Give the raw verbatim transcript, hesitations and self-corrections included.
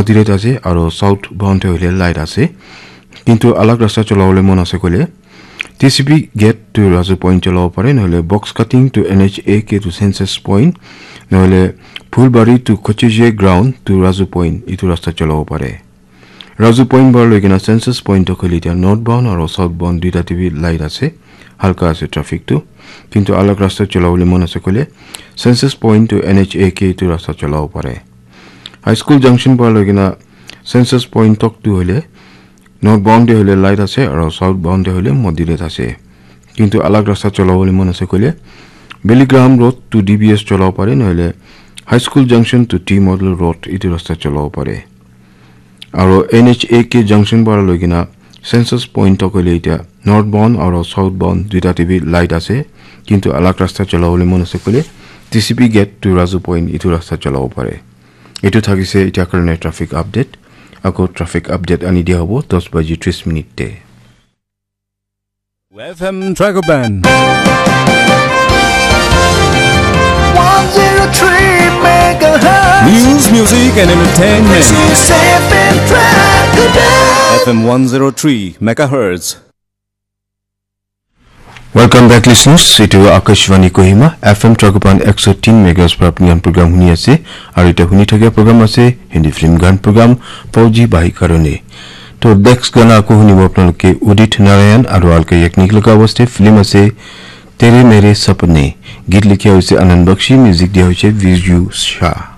Moderate ase, aro southbound te hoile light ase. Kintu alag rasta cholabole mon ase koile, T C P gate to Razu Point cholabo pare, nohole box cutting to N H A K to Census Point, nohole Phulbari to Kochije ground to Razu Point, itu rasta cholabo pare. Razu Point para loi kena Census Point to khali dia northbound aro southbound duita te bi light ase, halka ase traffic tu. Kintu alag rasta cholabole mon ase koile, Census Point to N H A K itu rasta cholabo pare. High School Junction para loi kena Census Point tok tu hoile northbound te hoile light ase aro southbound te hoile moderate ase. Kintu alag rasta cholabole mon ase koile, Billygram Road to D B S cholabo pare, nohole High School Junction to T Model Road itu rasta cholabo pare. Aro N H A K Junction para loi kena Census Point tok hoile itya northbound aro southbound duita te bi light ase, kintu alag rasta cholabole mon ase koile, T C P gate to Razu Point itu rasta cholabo pare. Itu thakise itya karone traffic update. Ako traffic update ani dia hobo dos baji tris minute te. F M Dragon Band. One zero three megahertz. News, music, and entertainment. This is F M Dragon Band. F M one zero three megahertz. Welcome back, listeners. Itu Akashvani Kohima, F M Dragon Band ekso tin megahertz para apni khan program huni ase. Aru ite huni thakia program ase Hindi film gan program Fauji Bhai Karone. To next gana ako hunibo apnaloke Udit Narayan aru Alka Yagnik laga awaaz te film ase Tere Mere Sapne. Geet likha hoise Anand Bakshi, music dia hoise Viju Shah.